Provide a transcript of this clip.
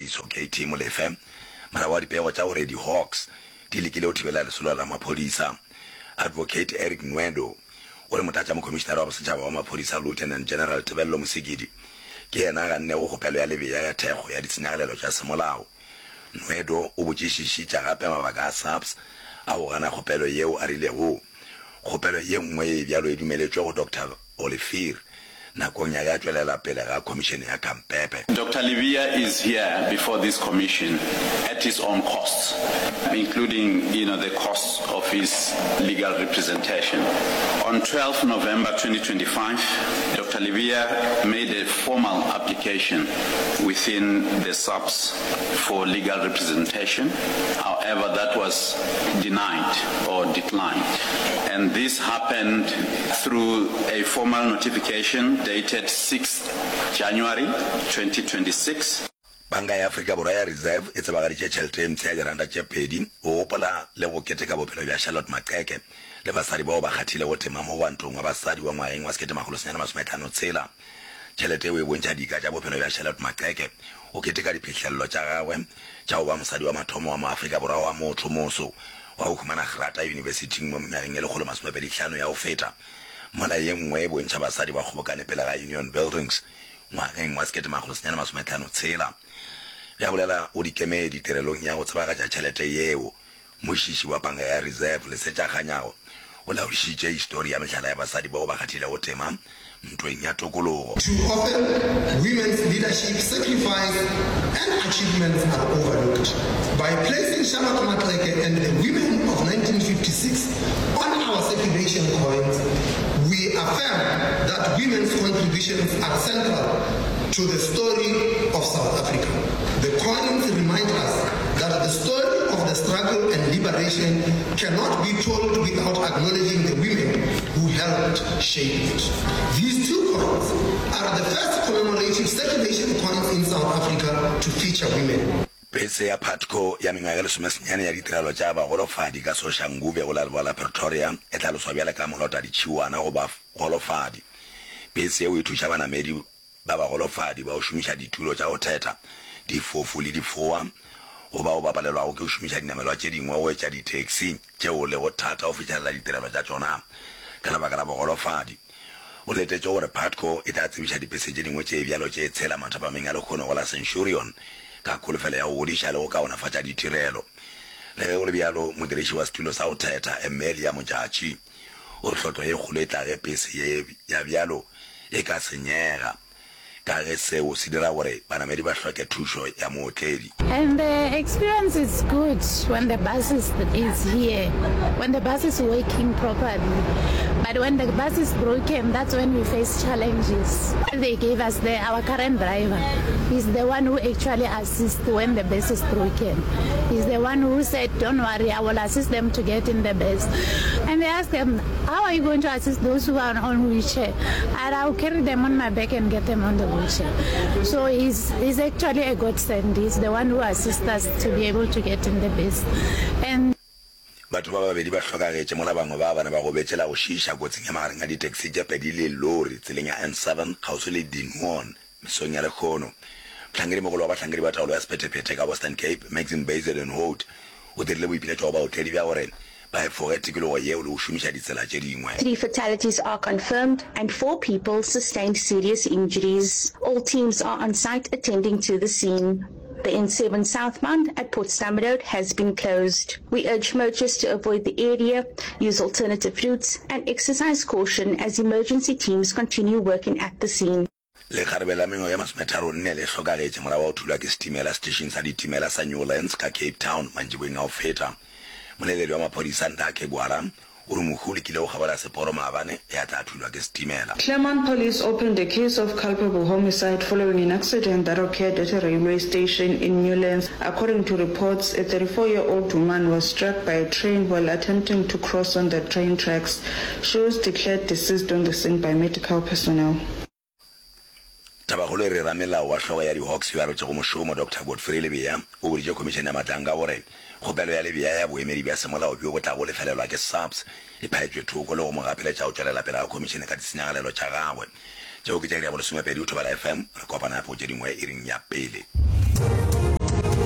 Tshediso KT Molefe morago ga dipego tša gore di-Hawks di lekile go thibela lesolo la maphodisa. Advocate Eric Nwedo o re Motlatšamokhomišenare wa Bosetšhaba wa Maphodisa Lieutenant General Tebello Mosikidi ke yena a gannego kgopelo ya Lebeya ya thekgo ya ditshenyagalelo tša semolao. Nwedo o botšišišitša gape mabaka a SAPS a go gana kgopelo yeo a rilego kgopelo ye nngwe ye bjalo e dumeletšwe go Doctor Olivier nakong ya ge a tšwelela pele ga Khomišene ya Khampepe. Doctor Lebeya is here before this commission at his own costs, including, you know, the costs of his legal representation. On 12 November 2025, Doctor Lebeya made a formal application within the SAPS for legal representation. However, that was denied or declined. And this happened through a formal notification dated 6th January 2026. Panka ya Afrika Borwa ya Reserve e tsebagaditše tšhelete e mpsha ya diranta tše pedi go gopola le go keteka bophelo bja Charlotte Maxeke le basadi bao ba kgathilego tema mo gwantong wa basadi wa ngwageng wa 1956. Tšhelete yeo e bontšha dika tša bophelo bja Charlotte Maxeke go keteka diphihlelelo tša gagwe tša go ba mosadi wa mathomo wa Moafrika Borwa wa motho moso wa go humana grata yunibesithing mo mengwageng e 125 ya go feta, mola ye nngwe e bontšha basadi ba kgobokane pele ga Union Buildings ngwageng wa 1956. Ge a bolela go dikemedi tirelong ya go tsebagatša tšhelete yeo, Mošiši wa Panka ya Reserve, Lesetša Kganyago, o laodišitše histori ya mehlala ya basadi bao ba kgathilego tema ntweng ya tokologo. Too often, women's leadership, sacrifice and achievements are overlooked. By placing Charlotte Maxeke and the women of 1956 on our circulation coins, we affirm that women's contributions are central to the story of South Africa. The coins remind us that the story of the struggle and liberation cannot be told without acknowledging the women who helped shape it. These two coins are the first commemorative circulation coins in South Africa to feature women. Pese ya Putco ya mengwaga e lesomesenyane ya ditirelo tša bagolofadi ka Soshanguve go la Leboa la Pretoria e hlaloswa bjale ka molotaditšhiwana go bagolofadi. Pese yeo e thuša banamedi ba bagolofadi ba go šomiša ditulo tša go thetha, difofu le difoa, go bao ba palelwago ke go šomiša dinamelwa tše dingwe go etša di-taxi tšeo lego thata go fihlelela ditirelo tša tšona ka lebaka la bogolofadi. Go letetšwe gore Putco e tla tsebiša dipese tše dingwe tše bjalo tše tshela mathapameng a lehono go la Centurion ka kholofelo ya go godiša le go kaonafatša ditirelo. Le ge go le bjalo, modiriši wa setulo sa go thetha, Emelia Modjadji, O re hlotlo ye kgolo e tla ge pese ye ya bjalo e ka senyega, ka ge seo se dira gore banamedi ba hloke thušo ya mootledi. And the experience is good when the bus is is here, when the bus is working properly. But when the bus is broken, that's when we face challenges. They gave us the, our current driver. He's the one who actually assists when the bus is broken. He's the one who said, don't worry, I will assist them to get in the bus. And they asked them, how are you going to assist those who are on wheelchair? And I'll carry them on my back and get them on the wheelchair. So he's, he's actually a godsend. He's the one who assists us to be able to get in the bus. And Batho ba babedi ba hlokagetše mola bangwe ba bane ba gobetše la go šiiša kotsing ya magareng a ditaxi tše pedi le lori tseleng ya N7 kgauswi le Dinoon mesong ya lehono. Mohlankedimogolo wa bahlankedi ba taolo ya sephethephethe ka Western Cape, Maxim Bezuidenhout, o dirile boipiletšo go baotledi bja gore ba efoge tikologo yeo le go šomiša ditsela tše dingwe. Three fatalities are confirmed and four people sustained serious injuries. All teams are on site attending to the scene. The N7 southbound at Potsdam Road has been closed. We urge motorists to avoid the area, use alternative routes and exercise caution as emergency teams continue working at the scene. Lekgarebe la mengwaga ye masometharonne le hlokagetše morago ga go thulwa ke setimela setešeng sa ditimela sa Newlands ka Cape Town mantšiboeng a go feta. Moleledi wa maphodisa Ndakhe Gwala o re mohu o lekile go kgabola seporo maabane ge a tla thulwa ke setimela. Claremont police opened a case of culpable homicide following an accident that occurred at a railway station in Newlands. According to reports, a 34-year-old woman was struck by a train while attempting to cross on the train tracks. She was declared deceased on the scene by medical personnel. Tabakgolo e re ramelao wa hlogo ya di-Hawks yo a rotšego mošomo, Doctor Godfrey Lebeya, o boditše Khomišene ya Matlanka gore kgopelo ya Lebeya ya boemedi bja semolao bjo bo tlago lefelelwa ke SAPS e phaetšwe thoko le go mo gapeletša go tšwelela pele ga khomišene ka ditshenyagalelo tša gagwe. Tšeo ke tša iri ya bolesomepedi go Thobela FM. Re kopana gape go tše dingwe iring ya pele.